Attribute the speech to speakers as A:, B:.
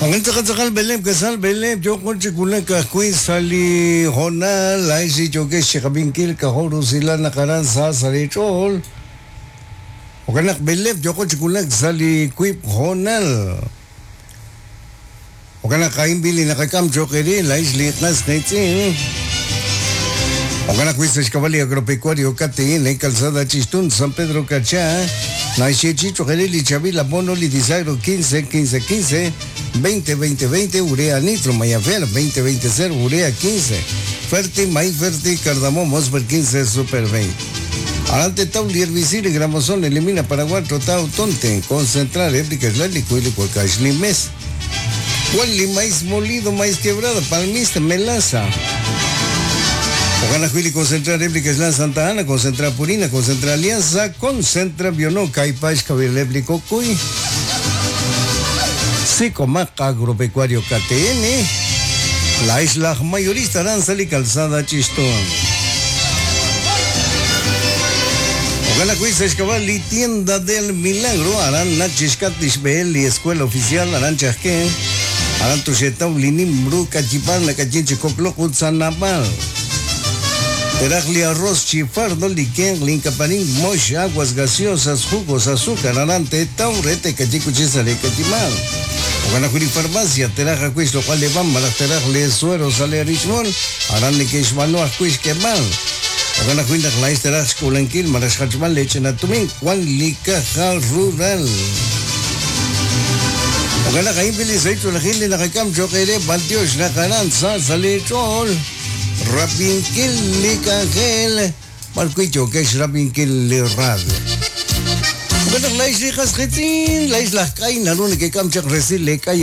A: Tz'aqal b'eleeb' k'asal b'eleeb' yooqo chi wulak ajwi' sa' li hoonal laa'ex li yookex chi qab'inkil k'ajo' rusilal naq aran sa sa' leech'ool. Jo'kan naq b'eleeb' yooqo chi wulak sa' li wiib' hoonal. Jo'kan naq a'in b'i' li naqak'am cho'q eere laa'ex li qas qiitz'in. Jo'kan ajwi' sa' xk'ab'a' li Agropecuario KTN, Calzada Chixtún, San Pedro Carchá, naxyeechi'i cho'q eere li chaab'il abono li Disagro 15 15 15, 20 20 20, Urea Nitro, Mayafer 20 20 0, Urea 15, Ferti, Maíz Ferti, Cardamomo, Super 15, Super 20. Aran tetaw li herbicida Gramozón elimina Paraguay, Totao, Tonte, concentrar, réplica, Islálico, y Cuacaxli, Mes. Wan li maíz molido, maíz quebrado, palmista, melaza. Jo'kan ajwi' li Concentra Réplica Islam Santa Ana, Concentra Purina, Concentra Alianza, Concentra Biono, Kaipax, Kawileb li Kokuy, Sicomac Agropecuario KTN, La Isla Mayorista Aranza li Calzada Chistón. Jo'kan ajwi' sa' xk'ab'a' li Tienda del Milagro, aran nach' chixk'atq li xb'ehel li Escuela Oficial, aran Chajke, aran toxeetaw li nim ru k'ayib'aal nak'ayin chi kok'loq ut sa' naab'al. Teraj li arroz chi fardo, li kenq, li inkaparin, mox, aguas gaseosas, jugos, azúcar, aran teetaw re teek'ayi kuchi sa' li k'ayib'aal. Jo'kan ajwi' li farmacia, teraj ajwi' xloq'al li b'an malaj teraj li suero sa' li rich'mol, Aran neke'xb'aanu ajwi' xk'eeb'al. Jo'kan ajwi' naq laa'ex teraj xk'uulankil malaj xjachb'al lee ch'ina tumin, wan li Caja Rural. Jo'kan naq a'in li sahil ch'oolejil li naqak'am cho'q eere b'antiox naq aran sa sa' lee ch'ool rab'inkil li k'anjel b'ar wi' yookex rab'inkil li radio. Jo'kan naq laa'ex li qas qiitz'in, laa'ex laj k'ay naru nekek'am chaq resil lee k'ay.